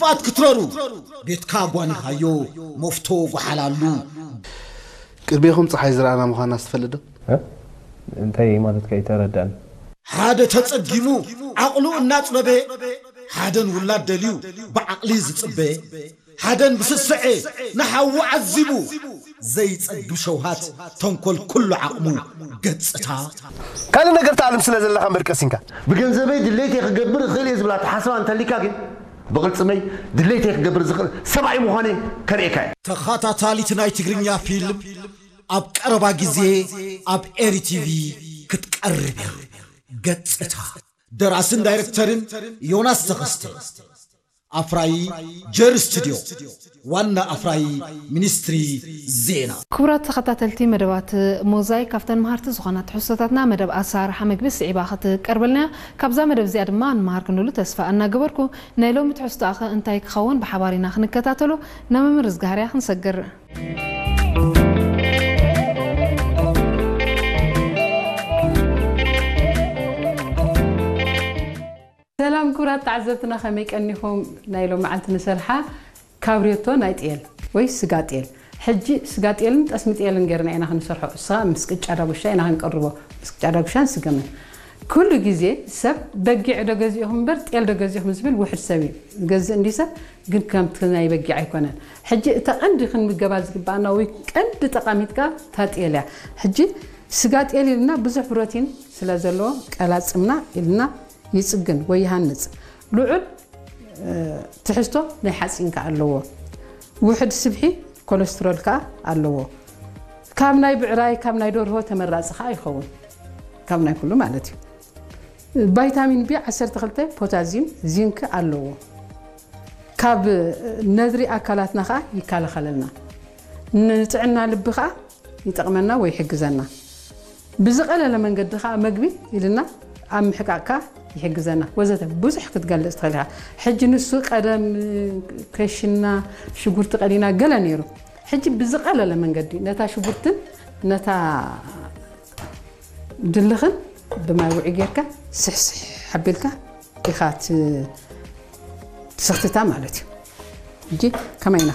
ኣትክትረሩ ቤትካ ጓኒኻዮ መፍቶ ጓሓላሉ። ቅድሜኹም ፀሓይ ዝረኣና ምዃና ትፈልጥ ዶ? እ? እንታይ ማለትካ ኣይተረዳእን። ሓደ ተጸጊሙ ዓቕሉ እናጽበበ፣ ሓደን ውላድ ደልዩ ብዓቕሊ ዝጽበ፣ ሓደን ብስስዐ ንሓዉ ዓዚቡ ዘይጸግብ ሸውሃት ተንኮል ኩሉ ዓቕሙ ገጽታ። ካልእ ነገር ትኣልም ስለ ዘለኻ እምበር ቀሲንካ። ብገንዘበይ ድሌተይ ክገብር እኽእል እየ ዝብል ኣተሓሳስባ እንተሊካ ግን ብቕልጽመይ ድሌተይ ክገብር ዝኽእል ሰብኣይ ምዃነይ ከርእየካ እየ። ተኸታታሊት ናይ ትግርኛ ፊልም ኣብ ቀረባ ግዜ ኣብ ኤሪ ቲቪ ክትቀርብ እያ። ገጽታ ደራስን ዳይሬክተርን ዮናስ ተኸስተ። ኣፍራዪ ጀር ስቱድዮ። ዋና ኣፍራዪ ሚኒስትሪ ዜና። ክቡራት ተኸታተልቲ መደባት ሞዛይክ፣ ካብተን መሃርቲ ዝኾና ትሕዝቶታትና መደብ ኣሰራርሓ ምግቢ ስዒባ ክትቀርበልና እያ። ካብዛ መደብ እዚኣ ድማ ንመሃር ክንብሉ ተስፋ እናገበርኩ፣ ናይ ሎሚ ትሕዝቶኣ ኸ እንታይ ክኸውን ብሓባር ኢና ክንከታተሎ። ናብ መምህር እዝጋሃርያ ክንሰግር። ሰላም ክቡራት ተዓዘብትና፣ ከመይ ቀኒኹም? ናይ ሎም መዓልቲ ንሰርሓ ካብሬቶ ናይ ጤል ወይ ስጋ ጤል። ሕጂ ስጋ ጤልን ጠስሚ ጤልን ጌርና ኢና ክንሰርሖ። እሳ ምስ ቅጫ ዳጉሻ ኢና ክንቀርቦ። ምስ ቅጫ ዳጉሻን ስገምን። ኩሉ ግዜ ሰብ በጊዕ ዶ ገዚእኹም እምበር ጤል ዶ ገዚእኹም ዝብል ውሕድ ሰብ እዩ ዝገዝእ እንዲ ሰብ፣ ግን ከምቲ ናይ በጊዕ ኣይኮነን። ሕጂ እታ ቀንዲ ክንምገባ ዝግባኣና ወይ ቀንዲ ጠቃሚት ከኣ እታ ጤል እያ። ሕጂ ስጋ ጤል ኢልና ብዙሕ ፕሮቲን ስለ ዘለዎ ቀላጽምና ኢልና ይጽግን ወይ ይሃንጽ። ልዑል ትሕዝቶ ናይ ሓፂን ከዓ ኣለዎ። ውሕድ ስብሒ ኮለስትሮል ከዓ ኣለዎ። ካብ ናይ ብዕራይ ካብ ናይ ደርሆ ተመራፂ ከዓ ይኸውን። ካብ ናይ ኩሉ ማለት እዩ። ቫይታሚን ቢ ዓሰርተ ክልተ ፖታዚየም ዚንክ ኣለዎ። ካብ ነድሪ ኣካላትና ከዓ ይከላኸለልና። ንጥዕና ልቢ ከዓ ይጠቕመና ወይ ይሕግዘና። ብዝቐለለ መንገዲ ከዓ መግቢ ኢልና ኣብ ምሕቃቕ ከዓ ይሕግዘና ወዘተ ብዙሕ ክትገልፅ ትኽእል ኢኻ። ሕጂ ንሱ ቀደም ከሽና ሽጉርቲ ቀሊና ገለ ነይሩ። ሕጂ ብዝቐለለ መንገዲ ነታ ሽጉርትን ነታ ድልኽን ብማይ ውዑይ ጌርካ ስሕስሕ ኣቢልካ ኢኻ ትሰኽትታ ማለት እዩ። ሕጂ ከመይ ኢና